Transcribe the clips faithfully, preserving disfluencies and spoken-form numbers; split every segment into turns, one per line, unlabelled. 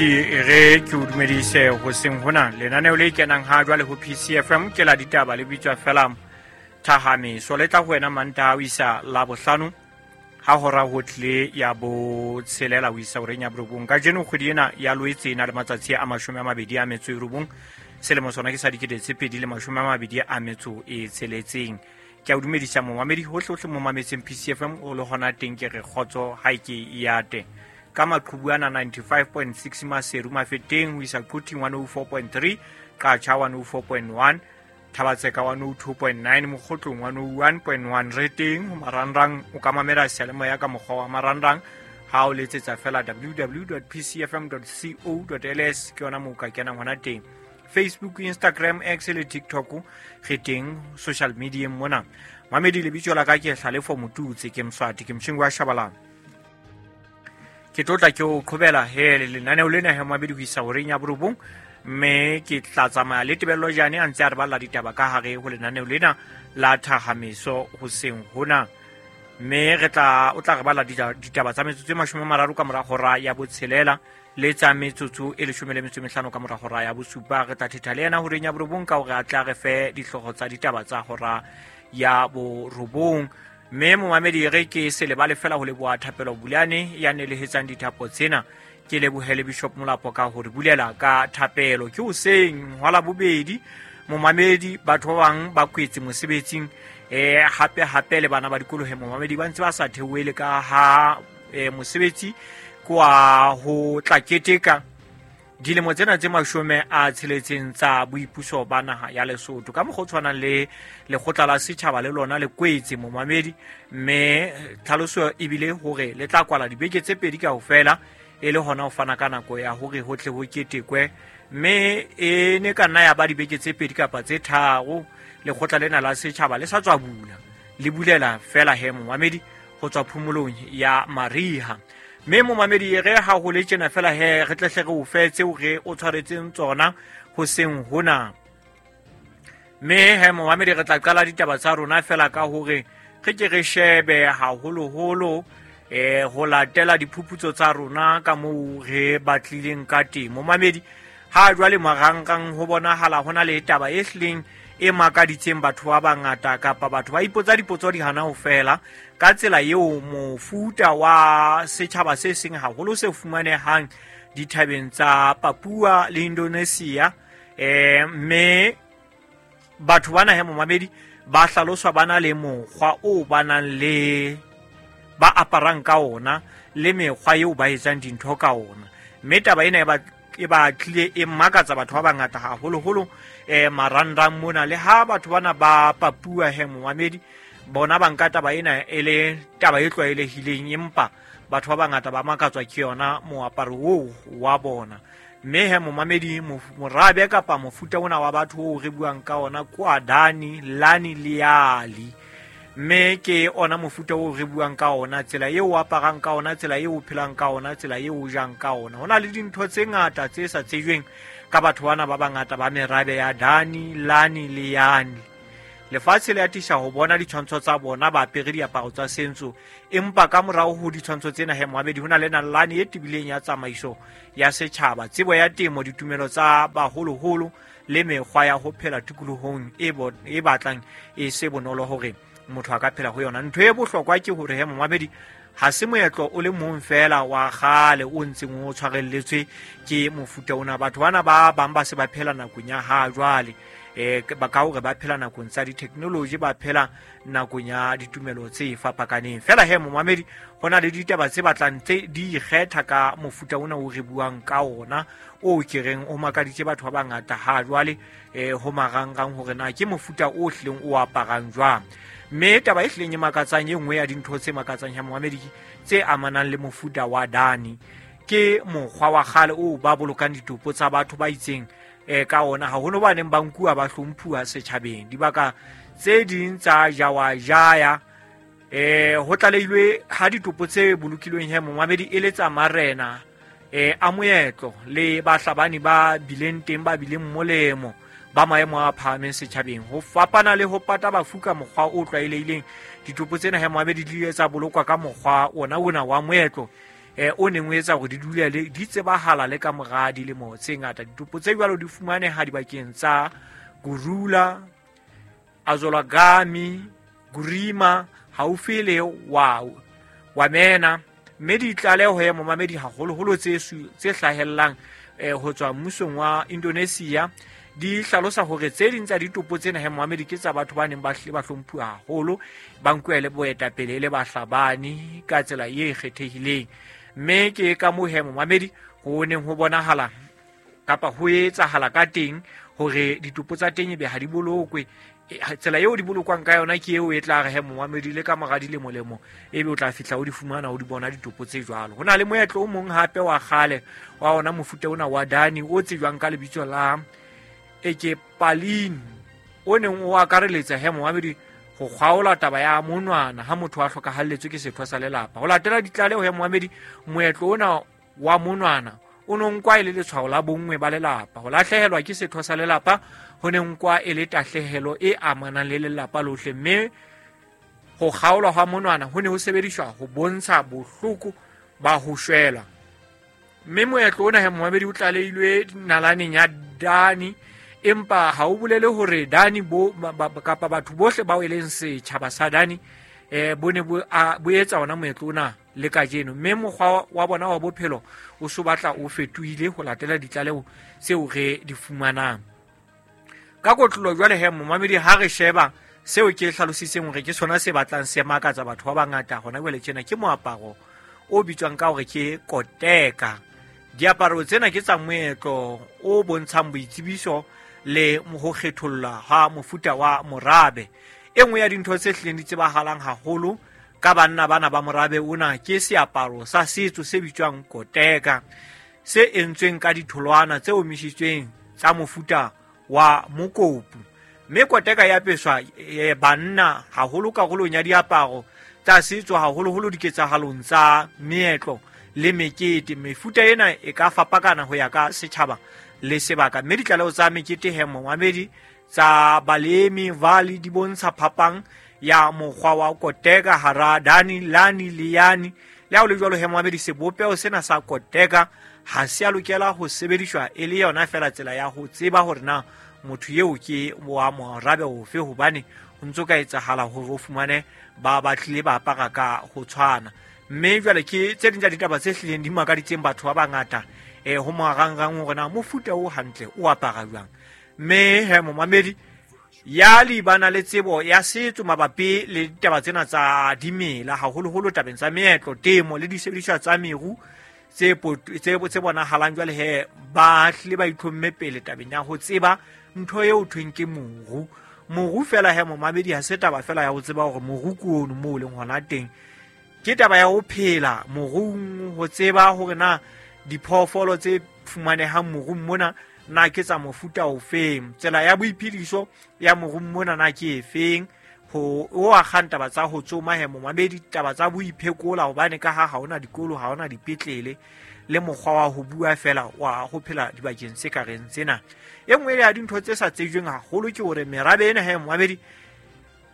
Re ke o dumedise hoseng hona lenaneo le kenang ha jwale ho P C F M ke la ditaba le bitswa fela Thahameso le tla ho wena Mantaha ho isa Labohlano ha hora ho tle ya botshelela ho isa horeng ya borobong. Kajeno kgwedi ena ya Loetse e na le matsatsi a mashome a mabedi a metso e robong, selemo sona ke sa dikete tse pedi le mashome a mabedi a metso e tsheletseng. Ke a o dumedisa momamedi hohle hohle mo mametseng P C F M o le hona teng, ke re kgotso ha e ke ya teng. Ka maqhubu ana ninety-five point six Maseru Mafeteng ho isa Quthing one oh four point three, Qacha one oh four point one, Thabatseka one oh two point nine, Mokgotlong one oh one point one. Re teng ho marangrang, o ka mamela seyalemoya ka mokgwa wa marangrang ha o letsetsa fela w w w dot p c f m dot co dot l s, ke yona moo o ka kenang hona teng. Facebook, Instagram, X le TikTok re teng social media mona. Mamedi lebitso la ka ke Hlalefo Motutse, ke Mswati, ke motjheng wa Shabalala. Ke tlotla ke o qhobela he lenaneo lena he mabedi ho isa horeng ya borobong, mme ke tla tsamaya le Tebello Jane a ntse a re balla ditaba ka hare ho lenaneo lena la Thahameso hoseng hona. Mme re tla o tla re balla ditaba tsa metsotso e mashome a mararo ka mora hora ya botshelela le tsa metsotso e leshome le metso e mehlano ka mora hora ya bosupa. Re tla thetha le yena horeng ya borobong ka hore a tla re fe dihlooho tsa ditaba tsa hora ya borobong. Mme momamedi re ke se lebale fela ho leboha Thapelo Bulane ya nelehetsang dithapo tsena. Ke lebohele Bishop Molapo ka hore bulela ka thapelo. Ke hoseng hwa Labobedi momamedi, batho ba bang ba kwetse mosebetsing, eh hape hape le bana ba dikolo he momamedi ba ntse ba sa theohele ka ha eh, mosebetsi kwa ho tla keteka dilemo tsena tse mashome a tsheletseng tsa boipuso ba naha ya Lesotho. Ka mokgwa o tshwanang le lekgotla la setjhaba le lona le kwetse momamedi, mme tlhaloso ebile hore le tla kwala dibeke tse pedi kaofela e le hona ho fana ka nako ya hore ho tle ho ketekwe, mme e ne ka nna ya ba dibeke tse pedi kapa tse tharo lekgotla lena la setjhaba le sa tswa bula, le bulela fela he momamedi ho tswa phomolong ya mariha. Mme momamedi re ha ho le tjena fela he re tlehle re o fe tseo re o tshwaretseng tsona hoseng hona. Mme he momamedi re tla qala ditaba tsa rona fela ka hore re ke re shebe haholoholo eh ho latela diphuputso tsa rona ka moo re batlileng ka teng. Momamedi ha jwale marangrang ho bonahala hona le taba e hlileng e makaditseng batho ba bangata, kapa batho ba ipotsa dipotso di hana ho fela ka tsela eo mofuta wa setjhaba se seng haholo se fumanehang dithabeng tsa Papua le Indonesia. Eh mme batho bana he momamedi ba hlaloswa ba na le mokgwa o ba nang le ba aparang ka ona le mekgwa eo ba etsang dintho ka ona. Mme taba ena e ba e ba tlile e makatsa batho ba bangata haholoholo eh marangrang mona. Le ha batho bana ba Papua he momamedi bona ba nka taba ena e le taba e tlwaelehileng, empa batho ba bangata ba makatswa ke yona moaparo oo wa bona. Mme he momamedi morabe kapa mofuta ona wa batho oo re buang ka ona kwa Dani, Lani le Ali, mme ke ona mofuta oo re buang ka ona, tsela eo o aparang ka ona, tsela eo o phelang ka ona, tsela eo o jang ka ona. Ho na le dintho tse ngata tse sa tsejweng ka batho bana ba bangata ba merabe ya Dani, Lani le Yani. Lefatshe le atisa ho bona ditshwantsho tsa bona ba apere diaparo tsa sentso, empa ka morao ho ditshwantsho tsena he momamedi ho na le nalane e tebileng ya tsamaiso ya setjhaba, tsebo ya temo, ditumelo tsa baholoholo le mekgwa ya ho phela tikolohong e e batlang e se bonolo hore motho a ka phela ho yona. Ntho e bohlokwa ke hore he momamedi ha se moetlo o le mong fela wa kgale o ntseng o tshwarelletswe ke mofuta ona. Batho bana ba bang ba se ba phela nakong ya ha jwale, eh ba ka hore ba phela nakong tsa di-technology, ba phela nakong ya ditumelo tse fapakaneng. Fela he momamedi ho na le ditaba tse batlang tse di ikgetha ka mofuta ona o re buang ka ona o ke reng o makaditse batho ba bangata ha jwale eh ho marangrang hore na ke mofuta o hlileng o aparang jwang. Mme taba e hlileng e makatsang e nngwe ya dintho tse makatsang ya momamedi tse amanang le mofuta wa Dani ke mokgwa wa kgale o ba bolokang ditopo tsa batho ba itseng eh ka ona, haholo ba neng ba nkuwa ba hlomphuwa setjhabeng. Dibaka tse ding tsa Jawajaya eh ho tlalehilwe ha ditopo tse bolokilweng he momamedi e le tsa marena eh a moetlo le bahlabani ba bileng teng ba bileng molemo ba maemo a phahameng setjhabeng. Ho fapana le ho pata bafu ka mokgwa o tlwaelehileng, ditopo tsena he momamedi di ile tsa bolokwa ka mokgwa ona ona wa moetlo eh o neng o etsa hore di dule le di tsebahala le ka mora dilemo tse ngata. Ditopo tse jwalo di fumaneha dibakeng tsa Gurula, Azolagami, Gurima haufi le wa Wamena, mme ditlaleho ya momamedi haholoholo tse tse hlahellang eh ho tswa mmusong wa Indonesia di hlalosa hore tse ding tsa ditopo tsena he momamedi ke tsa batho ba neng ba hle ba hlomphuwa haholo, ba nkuwe le boetapele le bahlabani ka tsela e kgethehileng. Mme ke ka moo he momamedi ho neng ho bonahala kapa ho etsahala ka teng hore ditopo tsa teng ebe ha di bolokwe. Tsela eo di bolokwang ka yona ke eo e tla re he momamedi le ka mora dilemo lemo ebe o tla fihla o di fumana o di bona ditopo tse jwalo. Ho na le moetlo o mong hape wa kgale wa ona mofuta ona wa Dani o tsejwang ka lebitso la Ekepalini, o neng o akareletsa he momamedi ho kgaola taba ya monwana ha motho a hlokahalletswe ke setho sa lelapa. Ho latela ditlaleho ya momamedi, moetlo ona wa monwana o no nkwa e le letshwao la bonngwe ba lelapa. Ho lahlehelwa ke setho sa lelapa ho ne nkwa e le tahlehelo e amanang le lelapa lohle, mme ho kgaolwa hwa monwana ho ne ho sebediswa ho bontsha bohloko ba ho shwela. Mme moetlo ona he momamedi o tlalehilwe nalaneng ya Dani, empa ha o bolele hore Dani bo kapa batho bohle bao e leng setjhaba sa Dani eh bo ne bo bo etsa ona moetlo ona le kajeno, mme mokgwa wa bona wa bophelo o so batla o fetohile ho latela ditlaleho tseo re di fumanang. Ka kotlolo jwale he momamedi ha re sheba seo ke hlalositseng hore ke sona se batlang se makatsa batho ba bangata hona jwale tjena ke moaparo o bitswang ka hore ke koteka. Diaparo tsena ke tsa moetlo o bontshang boitsebiso le ho kgetholla ha mofuta wa morabe. E nngwe ya dintho tse hlileng di tsebahalang haholo ka banna bana ba morabe ona ke seaparo sa setso se bitswang koteka, se entsweng ka ditholwana tse omisitsweng tsa mofuta wa mokopu. Mme koteka ya apeswa e, banna haholo karolong ya diaparo tsa setso, haholoholo diketsahalong tsa meetlo le mekete. Mefuta ena e ka fapakana ho ya ka setjhaba le sebaka, mme ditlaleho tsa mekete he momamedi tsa balemi valley di bontsha phapang ya mokgwa wa koteka hara Dani, Lani le Yani. Le ha ho le jwalo he momamedi, sebopeho sena sa koteka ha se a lokela ho sebediswa e le yona fela tsela ya ho tseba hore na motho eo ke wa morabe ofe, hobane ho ntso ka etsahala hore o fumane ba batlile ba apara ka ho tshwana. Mme jwale ke tse ding tsa ditaba tse hlileng di makaditseng batho ba bangata eh ho marangrang hore na mofuta o hantle o apara jwang. Mme he momamedi ya libana le tsebo ya setso mabapi le ditaba tsena tsa dimela, haholoholo tabeng tsa meetlo, temo le disebediswa tsa meru tse tse bonahalang jwale he ba hlile ba itlhomme pele tabeng ya ho tseba ntho eo thweng ke moru. Moru fela he momamedi ha se taba fela ya ho tseba hore moru ke ono moo o leng hona teng, ke taba ya ho phela morung, ho tseba hore na diphoofolo tse fumanehang morung mona na ke tsa mofuta ofeng, tsela ya boiphediso ya morung mona na ke efeng, ho o akgang taba tsa ho tsoma he momamedi, taba tsa boiphekola hobane ka ha ha hona dikolo, ha hona dipetlele, le mokgwa wa ho bua fela wa ho phela dibakeng tse ka reng tsena. E nngwe ya dintho tse sa tsejweng haholo ke hore merabe ena he momamedi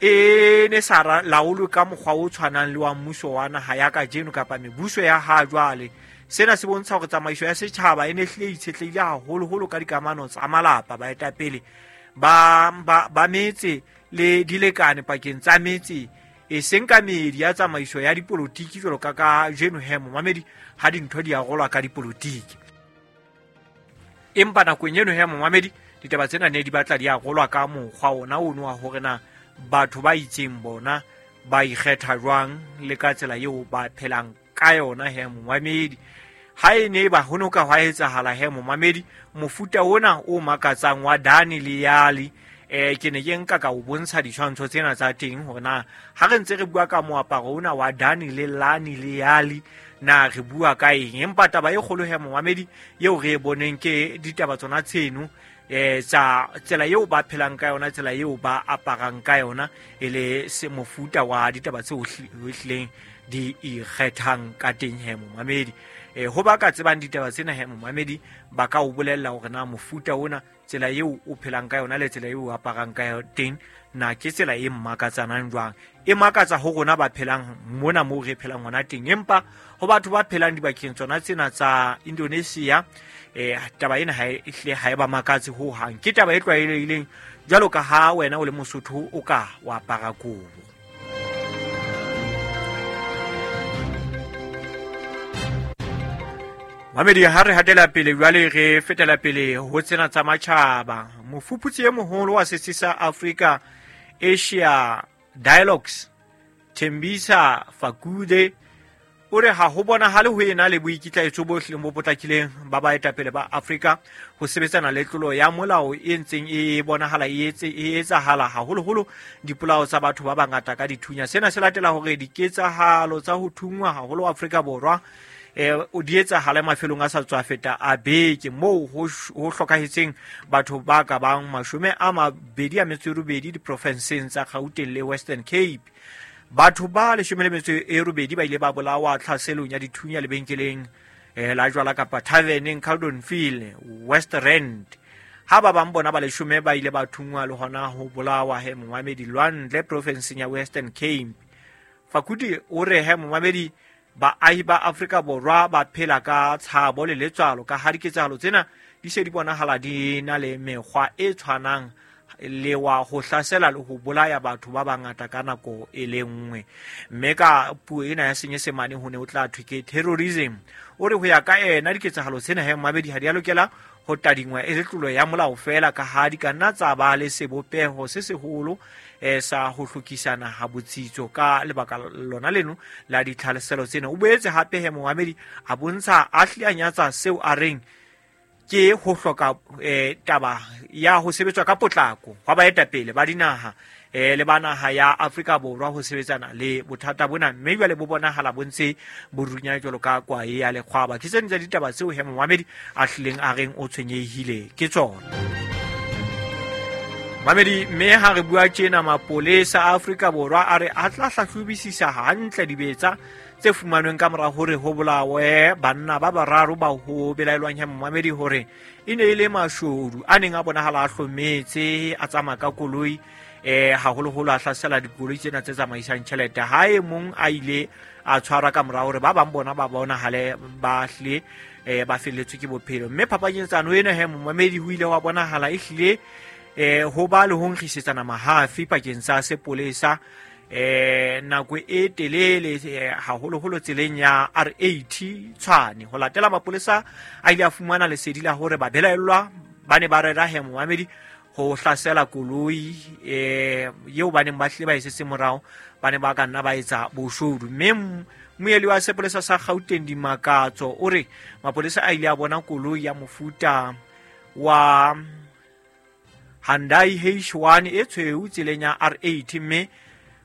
e ne sa laolwe ka mokgwa o tshwanang le wa mmuso wa naha ya kajeno kapa mebuso ya ha jwale. Sena se bontsha hore tsamaiso ya setjhaba e ne hlile itshetlehile haholoholo ka dikamano tsa malapa, baetapele ba ba ba metse le dilekane pakeng tsa metse, e seng ka meedi ya tsamaiso ya dipolotiki jwalo ka kajeno he momamedi ha dintho di arolwa ka dipolotiki. Empa nakong eno he momamedi ditaba tsena ne di batla di arolwa ka mokgwa ona ono wa hore na batho ba itseng bona ba ikgetha jwang le ka tsela eo ba phelang ka yona he momamedi. Ha e ne ba ho no ka hwa etsahala he momamedi mofuta ona o makatsang wa Dani le Yali, eh ke ne ke nka ka o bontsha ditshwantsho tsena tsa teng hore na ha re ntse re bua ka moaparo ona wa Dani le Lani le Yali na re bua ka eng. Empa taba e kgolo he momamedi eo re e boneng ke ditaba tsona tseno eh tsa tsela eo ba phelang ka yona, tsela eo ba aparang ka yona, e le se mofuta wa ditaba tseo hlileng di ikgethang ka teng he momamedi. E ho ba ka tsebang ditaba tsena he momamedi ba ka o bolella hore na mofuta ona tsela eo o phelang ka yona le tsela eo o aparang ka teng na ke tsela e mmakatsanang jwang. E makatsa ho rona ba phelang mona moo re phelang hona teng, empa ho batho ba phelang dibakeng tsona tsena tsa Indonesia eh taba ena ha e hle ha e ba makatse ho hang. Ke taba e tlwaelehileng jwalo ka ha wena o le Mosotho o ka wa apara kobo. Mamedi ha re hatela pele jwale re fetela pele ho tsena tsa matjhaba. Mofuputsi e moholo wa setsi sa Africa Asia Dialogues Thembisa Fakude o re ha ho bonahale ho ena le boikitlaetso bo hlileng bo potlakileng ba baetapele ba Afrika ho sebetsana le tlolo ya molao e ntseng e bonahala e etse e etsahala haholoholo dipolao tsa batho ba bangata ka dithunya. Sena se latela hore diketsahalo tsa ho thungwa haholo Afrika Borwa eh o di etsahala mafelong a sa tswa feta a beke moo ho hlokahetseng batho ba ka bang mashome a mabedi a metso e robedi diprofenseng tsa Gauteng le Western Cape. Batho ba leshome le metso e robedi ba ile ba bolawa tlhaselong ya dithunya lebenkeleng eh la jwala kapa taverneng Caldonfield West Rand. Ha ba bang bona ba leshome ba ile ba thungwa le hona ho bolawa he momamedi Lwandle profenseng ya Western Cape. Fakudi o re he momamedi baahi ba Afrika Borwa ba phela ka tshabo le letswalo ka ha diketsahalo tsena di se di bonahala di na le mekgwa e tshwanang le wa ho hlasela le ho bolaya batho ba bangata ka nako e le nngwe. Mme ka puo ena ya Senyesemane ho ne ho tla thwe ke terrorism. O re ho ya ka ena diketsahalo tsena he mabedi ha di a lokela ho tadingwa e le tlolo ya molao fela ka ha di ka nna tsa ba le sebopeho se seholo eh sa ho hlokisana ha botsitso ka lebaka lona leno la ditlhaleselo tsena. O boetse hape he momamedi a bontsha a hlile a nyatsa seo a reng ke ho hloka eh taba ya ho sebetswa ka potlako hwa baetapele ba dinaha eh le ba naha ya Afrika Borwa ho sebetsana le bothata bona, mme jwale bo bonahala bo ntse bo runya jwalo ka kwae ya lekgwaba. Ke tsena tsa ditaba tseo he momamedi a hlileng a reng o tshwenyehile ke tsona. Mamedi mme ha re bua tjena mapolesa a Afrika Borwa a re a tla hlahlobisisa hantle dibetsa tse fumanweng ka mora hore ho bolawe banna ba bararo ba ho belaelwang he momamedi hore e ne e le mashodu a neng a bonahala a hlometse a tsamaya ka koloi eh haholoholo a hlasela dikoloi tsena tse tsamaisang tjhelete. Ha e mong a ile a tshwarwa ka mora hore ba bang bona ba bonahale ba hlile eh ba felletswe ke bophelo. Mme phapanyetsano ena he momamedi ho ile wa bonahala e hlile eh ho ba le ho nkgisetsana mahafi pakeng tsa sepolesa eh nako e telele haholoholo tseleng ya R eighty Tshwane. Ho latela mapolesa a ile a fumana lesedi la hore ba belaellwa ba ne ba rera he momamedi ho hlasela koloi eh eo ba neng ba hlile ba e setse morao, ba ne ba ka nna ba etsa boshodu. Mme moeli wa sepolesa sa Gauteng Dimakatso o re mapolesa a ile a bona koloi ya mofuta wa Hyundai H one e tshweu tseleng ya R eighty mme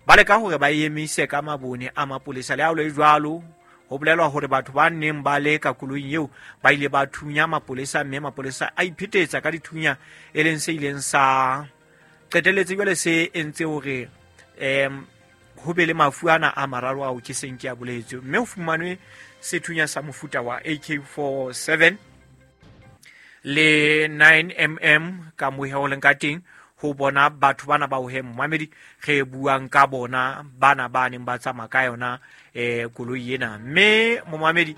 ba leka hore ba emise ka mabone a mapolesa. Le ha ho le jwalo ho bolelwa hore batho ba neng ba le ka koloing eo ba ile ba thunya mapolesa mme mapolesa a iphetetsa ka dithunya, e leng se ileng sa qetelletse jwale se entse hore em ho be le mafu ana a mararo ao ke seng ke a boletse. Mme ho fumanwe sethunya sa mofuta wa A K forty-seven le nine millimeter ka mohe o leng ka teng ho bona batho bana ba ho he momamedi re buang ka bona bana ba neng ba tsamaya ka yona eh koloi ena. Mme momamedi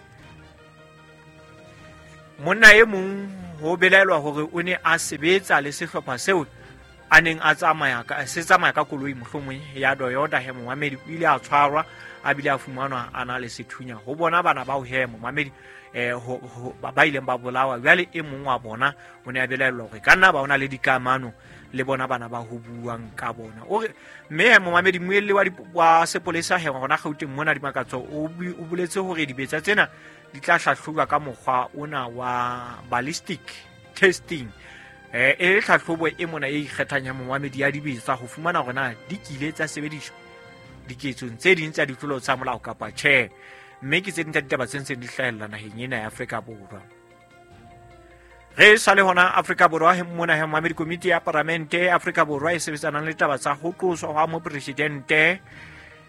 monna e mong ho belaelwa hore o ne a sebetsa le sehlopha seo a neng a tsamaya ka se tsamaya ka koloi mohlomong ya Toyota he momamedi o ile a tshwarwa a bile a fumanwa a na le sethunya ho bona bana ba ho he momamedi eh ho ba ileng ba bolawa. Jwale e mong wa bona o ne a belaelwa hore ka nna ba ona le dikamano le bona bana ba ho buang ka bona. O re mme momamedi moelli wa wa sepolesa he hona Gauteng mona Dimakatso o boletse hore dibetsa tsena di tla hlahlojwa ka mokgwa ona wa ballistic testing eh e tlhahlobo e mona e ikgethang ya momamedi ya dibetsa ho fumana hore na di kile tsa sebediswa diketsong tse ding tsa ditlolo tsa molao kapa tjhe. Mme ke tse ding tsa ditaba tse ntseng di hlahella naheng ena ya Afrika Borwa. Re sa le hona Afrika Borwa he mona he momamedi komiti ya paramente Afrika Borwa e sebetsanang le taba tsa ho tloswa hwa mopresidente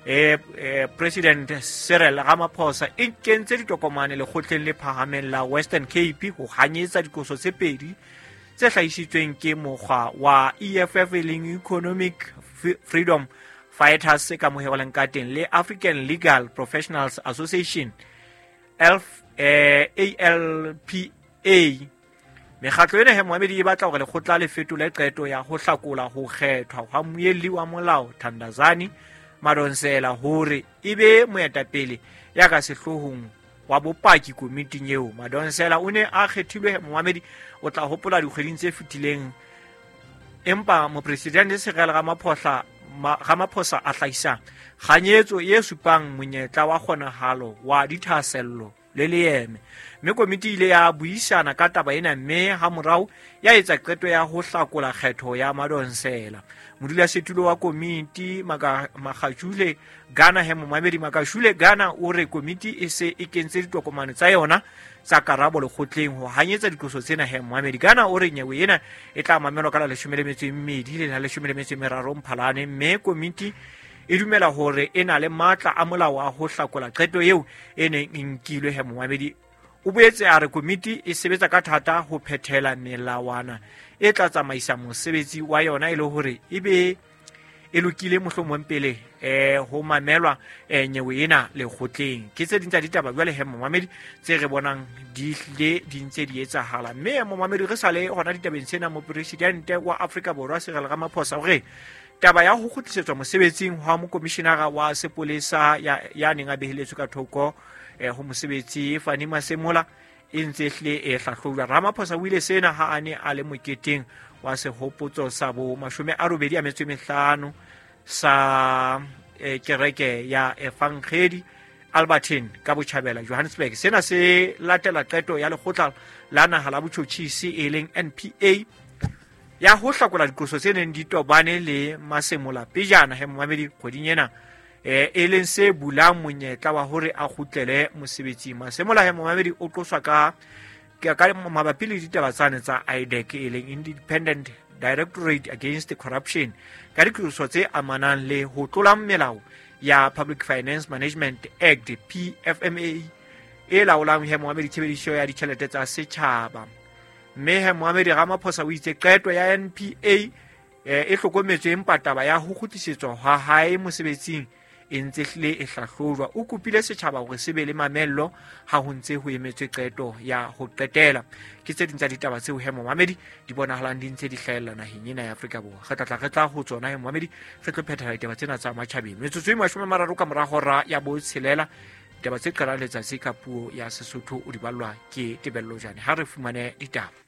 eh, eh, President Cyril Ramaphosa e kentse ditokomane lekgotleng le phahameng la Western Cape ho hanyetsa dikoso tse pedi tse hlahisitsweng ke mokgwa wa E F F e leng Economic Freedom Fighters ka moheoleng ka teng le African Legal Professionals Association L F, eh, A L P A. Mekgatlo ena he moamedi e batla hore lekgotla le fetole qeto ya ho hlakola ho kgethwa hwa mmuelli wa molao Thandazani Madonsela hore e be moetapele ya ka sehloohong wa bopaki komiting eo. Madonsela o ne a kgethilwe moamedi o tla hopola dikgweding tse fetileng, empa mopresidente Cyril Ramaphosa Ramaphosa a hlahisa kganyetso e supang monyetla wa kgonahalo wa dithahasello le leeme. Mme komiti ile ya buisana ka taba ena mme hamorao ya etsa qeto ya ho hlakola kgetho ya Madonsela. Modulasetulo wa komiti Makgashule Gana he momamedi Makgashule Gana o re komiti e se e kentse ditokomane tsa yona tsa karabo lekgotleng ho hanyetsa diqoso tsena he momamedi. Gana o re nyewe ena e tla mamelwa ka la leshome le metso e mmedi le la leshome le metso e meraro Mphalane, mme komiti e dumela hore e na le matla a molao a ho hlakola qeto eo e neng e nkilwe he momamedi. O boetse a re komiti e sebetsa ka thata ho phethela melawana e tla tsamaisa mosebetsi wa yona e le hore e be e lokile mohlomong pele eh ho mamelwa eh, nyewe ena lekgotleng. Ke tse ding tsa ditaba jwale he momamedi tse re bonang di hlile di ntse di etsahala. Mme momamedi re sale hona ditabeng tsena, mopresidente wa Afrika Borwa Cyril Ramaphosa o re taba ya ho kgutlisetswa mosebetsing hwa mokomishinara wa sepolesa ya, ya neng a beheletswe ka thoko eh, ho mosebetsi Fannie Masemola e ntse hlile e hlahlojwa. Ramaphosa o ile sena ha a ne a le moketeng wa sehopotso sa bo mashome a robedi a metso e mehlano sa eh, kereke ya Evangeli Albertine ka botjhabela Johannesburg. Sena se latela qeto ya lekgotla la naha la botjhotjhisi e leng N P A ya ho hlakola diqoso tse neng di tobane le Masemola pejana he momamedi kgweding ena, eh, e leng se bulang monyetla wa hore a kgutlele mosebetsing. Masemola he momamedi o qoswa ka ka mabapi le ditaba tsane tsa I D A C e leng Independent Directorate Against Corruption ka diqoso tse amanang le ho tlola melao ya Public Finance Management Act P F M A e laolang he momamedi tshebediso ya ditjhelete tsa setjhaba. Mme he momamedi Ramaphosa o itse qeto ya N P A eh, e hlokometswe empa taba ya ho kgutlisetswa ha hae mosebetsing e ntse hlile e hlahlojwa. O kopile setjhaba hore se be le mamello ha ho ntse ho emetswe qeto ya ho qetela. Ke tse ding tsa ditaba tseo he momamedi di bonahalang di ntse di hlahella naheng ena ya Afrika Borwa. Re tla tla re tla ho tsona he momamedi re tlo phethela ditaba tsena tsa matjhabeng. Metsotso e mashome a mararo ka mora hora ya botshelela, ditaba tse qalang letsatsi ka puo ya Sesotho o di ballwa ke Tebello Jane. Ha re fumane ditaba.